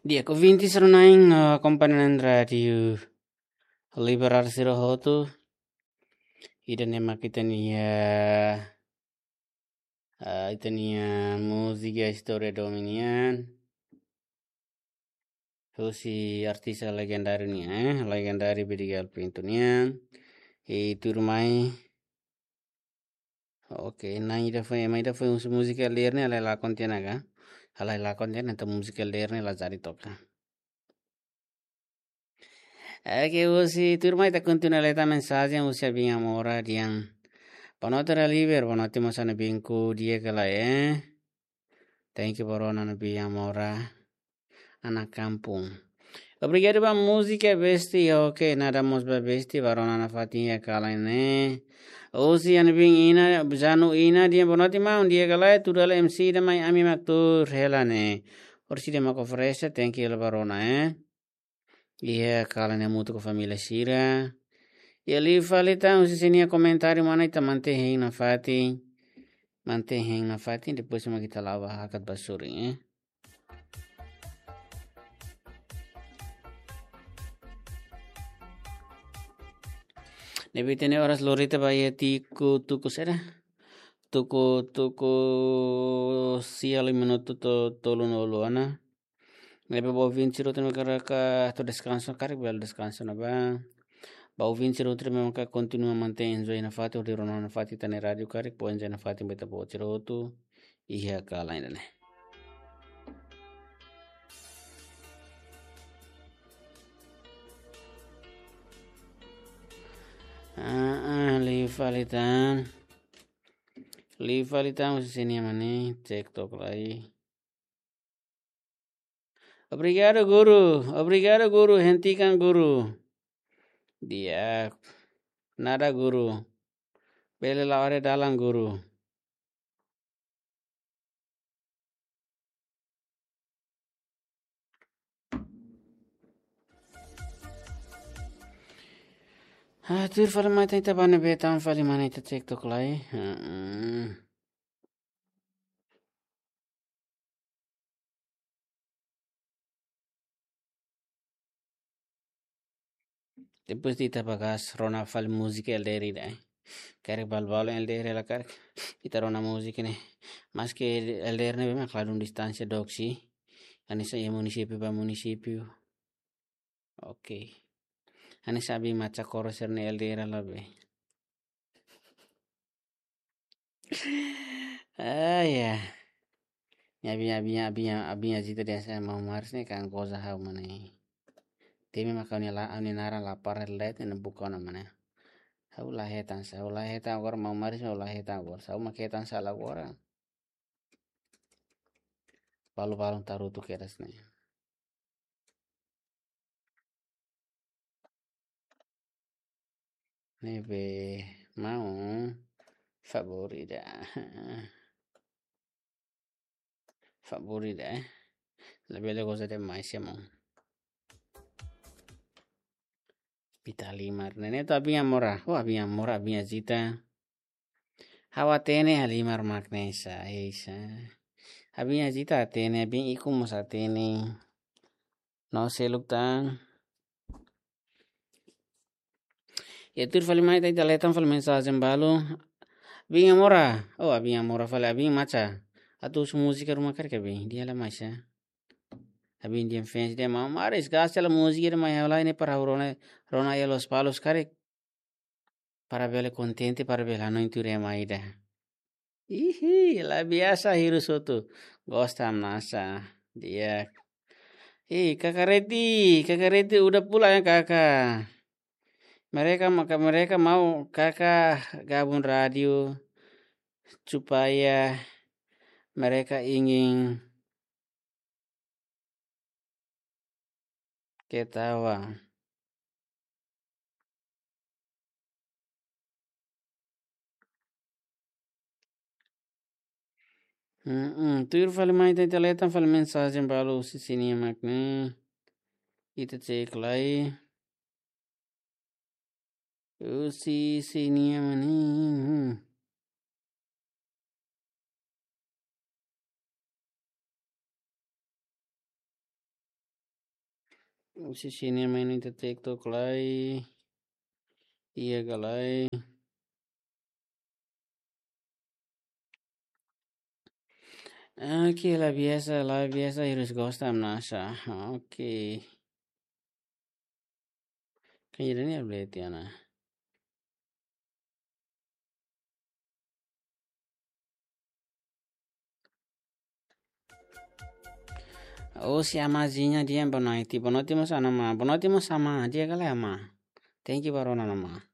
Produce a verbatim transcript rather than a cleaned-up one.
Di'ak, ouvinte sira-na'in, ah, akompaña Rádiu Liberal sira hotu. Ida-ne'e mak ita-nia, ah, ita-nia múzika istória domin nian. Husi artista legendáriu nian, eh, legendáriu Vidigal Pinto nian. I tuirmai. Oke, na'in ida foin, ema ida foin husu múzika L D R ne'e, halai lakon tiha ona ka? Halai lakon tiha ona, entaun múzika L D R ne'e la jadi toka. Oke, husi tuirmai ita kontinua leta mensajen husi Abin Amora dehan: Boa noite, Liber, boa noite, mós Abin, di'ak ka lae, eh? Thank you, ba rona Abin Amora, anak kampung. Obrigadu ba múzika, besti. Oke, nada mós ba besti, ba rona nafatin iha kalan ne'e. Husi Abin Ina, Janu Ina, dehan: Boa noite, maun, di'ak ka lae, tuir hela M C ida mai ami mak tuur hela ne'e. Orsida mak oferese, thank you ba rona, eh. Iha kalan ne'e hamutuk ho família sira. Iha liu fali tan, husi sira-nia komentáriu mak ne'e, ita mantein hein nafatin. Mantein hein nafatin, depois mak ita la'o ba hakat ba sorin, eh. Ne'ebé ita-nia oras lori tiha ba iha tuku, tuku saida? Tuku, tuku sia liu minutu to-, tolunulu ona. Ne'ebé ba ouvinte sira hotu ne'ebé karik atu deskansa, karik bele deskansa ona ba. Ba ouvinte sira hotu ne'ebé mak kontinua mantein enjoy nafatin, hodi rona nafatin ita-nia rádiu, karik bele enjoy nafatin ba ita-boot sira hotu iha kalan ida-ne'e. Ah, ah, liu fali tan. Liu fali tan, husi sira-nia mane, TikTok lai. Obrigadu, guru. Obrigadu, guru. Hentikan, guru. Di'ak. Nada, guru. Bele la'o haree dalan, guru. Ah, tuir fali mai tan, ita bá ne'ebé tan fali, mane, ita TikTok lai. Hmm. Depois de ita bagas rona fali múzika L D R ida, eh. Karik balu-balu L D R hela karik, ita rona múzika ne'e. Maske L D R ne'e memang ladún distánsia dook sih. Hanesan iha munisípiu ba munisípiu. Oke. Hanesan Abin Macha Koro sira-nia L D R hela be. Ah, ya. Nia Abin, Abin, Abin, Abin Azita dehan sá, maun Maris ne'e kan goza ha'u, mane. Temi maka ha'u-nia la-, ha'u-nia naran la para let ne'e buka ona, mane. Ha'u la hetan sá, ha'u la hetan agora, maun Maris ha'u la hetan agora. Sá, ha'u mak hetan sala agora. Balu-balu tarutu kedas ne'e. Ne'ebé maun, favór ida. Favór ida, eh. Labele goza demais, ya, maun. Ita halimar. Ne'e ne'e atu Abin Amora. Oh, Abin Amora, Abin Azita. Ha'u hatene halimar mak ne'e sá, eh, sá. Abin Azita hatene, Abin Iku mós hatene. No seluk tan. Ya, tuir fali mai tan, ita leta tan fali mensajen balu. Abin Amora. Oh, Abin Amora fali, Abin Macha. Atu husu múzika ruma karik, Abin? Di'ak, la mai sá. Abin dehan fans dehan, maun Maris, gasta hela múzika ida mai ha'u lai ne'e para ha'u rona, rona iha Lospalos karik. Para bele kontente, para bele hanoin tuir ema ida. Ihi, la biasa hirus hotu. Gosta masa. Di'ak. Ih, Kaka Reti, Kaka Reti udah pulang ya, Kaka. Mereka maka, mereka mau Kaka gabung radio supaya mereka ingin ketawa. Mm-mm. Tuir fali mai tan, ita leta tan fali mensajen balu husi sira-nia mak ne'e. Ita cek lai. Husi sira-nia mak ne'e. Hmm. Husi sira-nia main ita TikTok lai. Iha ka lae. Oke, la biasa, la biasa, hirus gosta am nasa. Oke. Kan ida-ne'e update ya na. Oh, si Amazinha dia boa noite. Boa noite, mós Ana Má. Boa noite, mós Ama. Dia ka lae, Ama? Thank you, barona Ana Má.